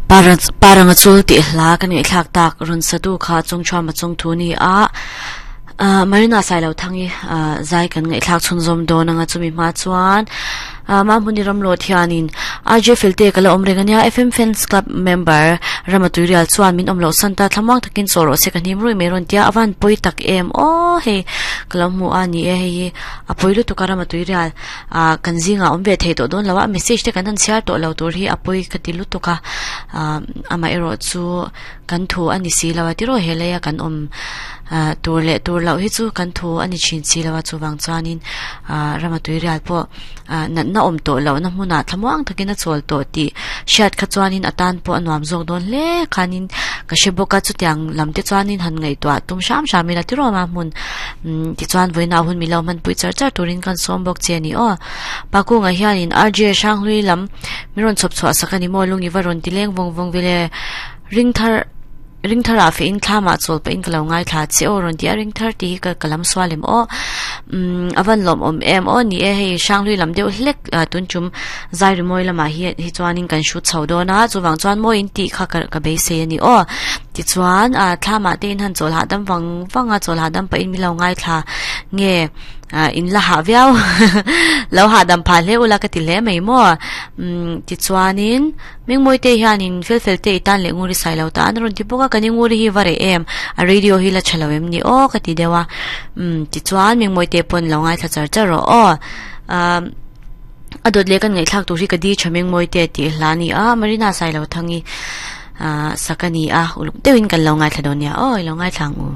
Paranga chul tih hla ka ngaihthlak tak rawn satu kha chungchhuama chungthu ni a Marina Sailothang-i zai kan ngaihthlak chhunzawm dawn anga chumi hma chuan Mahmuni Ramlawt hianin RJ Felte ka la awm reng ania FM Fans Club member Rama Tuirial chuan min awm loh san ta thlamuang takin chaw rawh se ka hnim rui mai rawn tia a van pawi tak em aw hei ka lo hmu a ni e hei hi a pawi lutuk a Rama Tuirial ah kan zingah awm ve thei tawh dawn lo a message te kan han chhiar tawh lo tur hi a pawi ka ti lutuk a ah amaherawh chu kan thu a ni si lo a tiraw helai a kan awm ah tur leh tur loh hi chu kan thu a ni thin si lo a chuvang chuanin ah rama tuirial pawh ah natna awm tawh loh na hmunah thlamuang takin a chawl tawh tih hriat kha chuanin a tan pawh a nuam zawk dawn hle khanin ka hre bawk a chutiang lam te chuanin han ngaihtuah tum hram hram ila tiraw ma hmun umm tichuan vawiinah hun milo hmanpui char char turin kan sawm bawk che a ni aw Pakungah hianin RJ Hranghlui lam min rawn chhawp chhuah sak a ni maw lung i va rawn ti leng vawng vawng vele ring thar ring thar ah feh in thlam ah chawl pah in ka lo ngaithla che aw rawn ti a ring thar tih hi ka ka lam sual em aw umm a van lawm awm em aw ni e hei Hranghlui lam deuh hlek ah tun tum zai rimawi lamah hi hi chuanin kan hrut chho dawn a chuvang chuan mawi in tih kha ka ka beisei a ni aw. Tichuan, ah thlamah te in han chawl hahdam vang vang a, chawl hahdam pah in min lo ngaithla nge ah in la hah viau lo hahdam phah hle ula ka ti hle mai maw. Umm tichuanin Mingmawi te hianin fel fel te i tan leh ngur i sai lo ta an rawn ti bawk a, kan i ngur hi va reh em a radio hi la tha lo em ni aw ka ti deuh a. Umm tichuan Mingmawi te pawn lo ngaithla char char rawh aw. Ah a dawt leh kan ngaihthlak tur hi ka di tha Mingmawi te tih hla a ni a, Marina Sailothangi. Ahh sak a ni a, uluk deuhin kan lo ngaithla dawn nia aw, i lo ngaithla ang u.